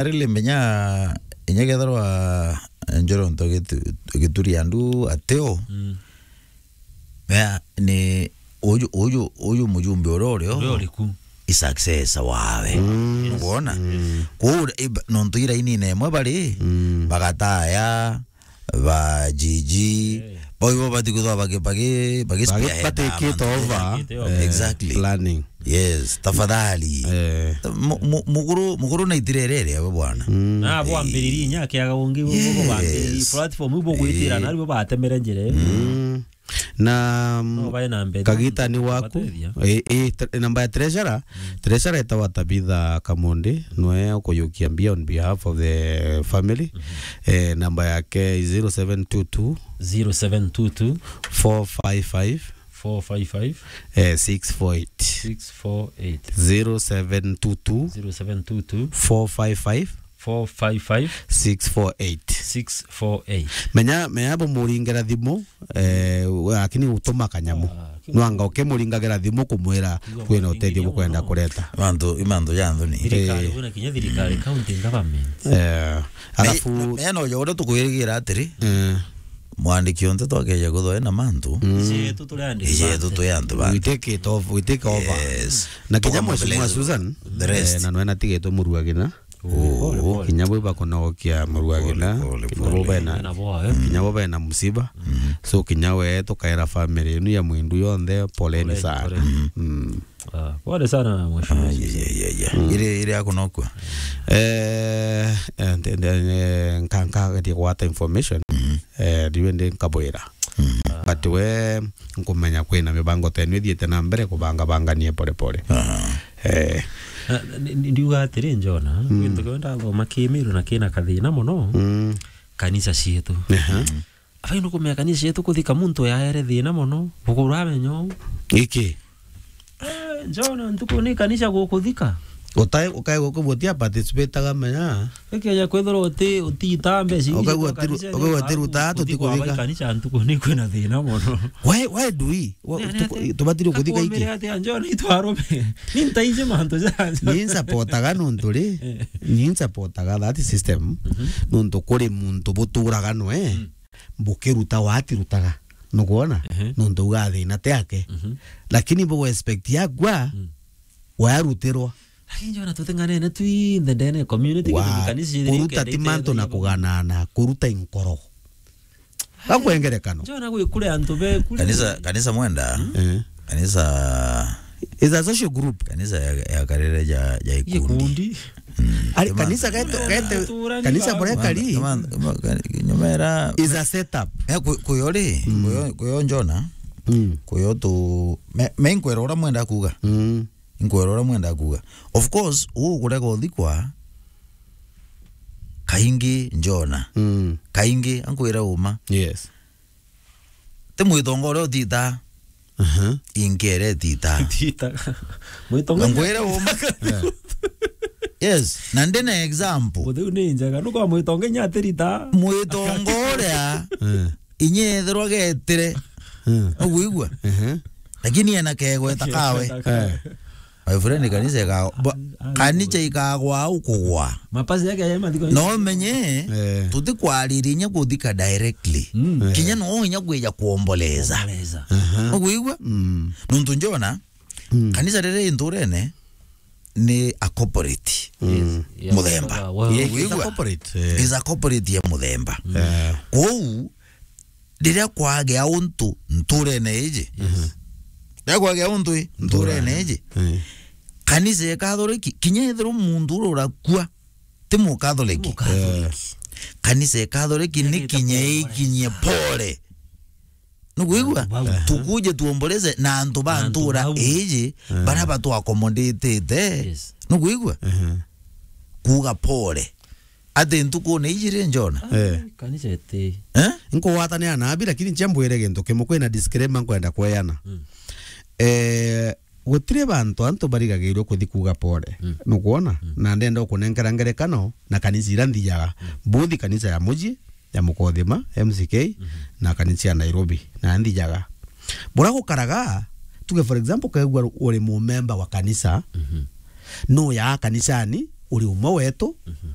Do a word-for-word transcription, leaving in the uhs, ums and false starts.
Arili menya, inya kethirwa Njoro nto gitu-, gituri andu ateo. Mm. Mea ni uyu, uyu, uyu mujumbe uria urio. Uria uriku. I successor wawe. Mm. Ukwona? Mm. Kwou, ib-, nontu irainine imwe bari, mm, bagataya, ba G G, eh, bo ibo bati kwithirwa bagi-, bagi-, bagi-, bagi-, spearhead batikite mantu over, batikite over, eh, exactly, planning. Yes, tafadhali. Eh. Mu-, mu-, mukuru, mukuru na itirerere we bwana. Mm. Na bo ambiririe inya akiaga ungi, bo, bo, bo bambiririe, yes, platform ibo gwitira, eh, na ribo batemere njira iyo. Mm. Na, mm, no bae na mbere, kagita ni waku. Bateithia. Eh, eh, tre-, namba ya treasurer, mm, treasurer etawa Tabitha Kamondi, nwe ukuyukia mbia on behalf of the family. Mhm. Eh, namba yake zero seven two two, zero seven two two, four five five, four five five, eh, six four eight. Six four eight. Zero seven two two, zero seven two two, four five five, four five five, six four eight. Six four eight. Menya, menya bo muringera thimu, eh, we, lakini utuma kanyamu. Ah, ki- Nwanga ukimuringagira thimu kumwira kwina utethio bukwenda kureta. Mantu, i mantu ja nthoni. Thirikari, eh, wina kinya thirikari, mm, county government. Eh, alafu me-, menya no uria tukwirigira atiri, eh, mwandiki onthe twakeja kuthwa ena mantu. Mm. Iji yetu turi andiki. Iji yetu turi antu bantu. We take it off, we take over. Yes. Na kinya Mheshimiwa Susan, the rest, eh, na nwena tigitwe muruagina. Pole, pole. Kinya bo ibakunogokia muruagina, pole, pole, kinya bo bena, na bo, eh, kinya bo bena musiba. Mm. So kinya we tukaira family inu ya Mwindu yonthe, poleni sana. Pole, pole. Mm. Ah, pole sana, mheshimiwa. Ah, yeah, yeah, yeah, yeah. Mm. Ire, ire akunokua. Eh, eh, nde-, nde-, eh, nka-, nkageria gwata information. Mm. Eh, riu ndi nkabwira. Mm. But we nkumenya kwina mibango tenu ithiite na mbere kubangabanganie pole pole. Aha. Eh. Na, ni, ni, ndiuga atiri, Njona, mm, gintu kiu ndathoma Kimiru na kina kathina mono, mm, kanisa cietu. Aha. Mm. Abai nukumenya kanisa cietu kuthika muntu yaere thina mono, bukuru amenya uu. Iki? Eh, Njona, ntuku ni kanisa gukuthika. Utai, ukai gukubutia participate aga menya. Ikeja kwithirwa uti, utiita mbeca iu ukaigua cia atiru-, kanisa, ukaigua atiruta, kuthikwa tutikuthika. Bai kanisa ntuku ni kwina thina mono. Why, why do we? Wa-, ni, ni tuku-, ati, tubatiri kuthika iki? Atia Njona itwarume. Ni ntaiji mantu jaja. Ni nsapotaga nontu ri. Eh. Ni nsapotaga that system. Mhm. Nontu kuri muntu buturaga nwe. Mm. Bukiruta watirutaga. Nukwona? Ehe. Nontu uga thina ti ake. Mhm. Lakini bu expect yakwa, mm, warutirwa. Lakini Njona, tuteng'anene twinthe ndene community, wa-, kitu kanisa iri kuruta ti mantu na kuganana, kuruta inkoro. Gakwengerekano. Njona gwi kuri antu be kuri. Kanisa, kanisa mwenda. Eh. Kanisa is a social group. Kanisa ya, ya karere ja, ja ikundi. Ikundi. Mm. Ari kanisa geto, gete, kanisa bore kari. Nyuma era is a setup. Eh, ku-, kuyo ri, mm, kuyo, kuyo Njona. Mm. Kuyo tu, me, me nkwera ura mwenda kuga. Mm. Nkwera ura mwenda kuga. Of course, u kurega uthikwa, kaingi Njona. Mm. Kaingi, ankwira uma. Yes. Ti mwitonga uria utita. Aha. Inkere tita. Tita. Mwitonga. Ngwire uma. Yeah. Yes, na ndina example. Butheu ni njega, nuko mwitonga inya atirita. Mwitonga uria, eh, inya ethirwa getire. Eh. Uguigua? Ehe. Lakini ena kegweta kawe. Eh. My friend, kanisa ika-, ba-, kanisa ikagwa au kugwa. Mapasi yake ya mathiko. No menye, eh, tutikwariria inya kuthika directly. Mm. Eh. Kinya no inya kwija kuomboleza. Kuomboleza. Aha. Uguigua? Mm. Nuntu Njona, mm, kanisa riria i nturene ni a corporate. Mm. Yes. Ya muthemba. Wa, wa, yeah, it's a corporate, eh. Is a corporate ya muthemba. Eh. Kwou, riria kwagea untu nturene iji, mhm, riria kwagea untu i nturene iji, eh, kanisa ya Kathoreki, kinya ethirwa muntu uria urakua ti Mukathoreki. Ti Mukathoreki. Eh. Kanisa ya Kathoreki ni kinya ikinyie pole. Nukwigua? Antu bau. Tukuje tuomboleze na antu ba ntura iji, eh, baria batu accommodatete. Yes. Nukwigua? Mhm. Kuuga pole. Ati ntukune iji ri Njona? Eh. Kanisa iti. Eh? Nkugwatanira na abi, lakini nchia mbwire gintu kimwe, kwina disclaimer nkwenda kweana. Mm. Eh, gutiri bantu antu barigagirwe kuthi kuuga pole. Mm. Nukwona? Mm. Na ndenda ukunenkera ngerekano na kanisa ira nthijaga. Mm. Mbuthi kanisa ya muji, ya Mukothima, M C K, mhm, na kanisa ya Nairobi, na nthijaga. Bura gukaraga, tuge for example, ukaigua uri mumemba wa kanisa, mhm, nuyaa kanisani, uri umwe wetu, mhm,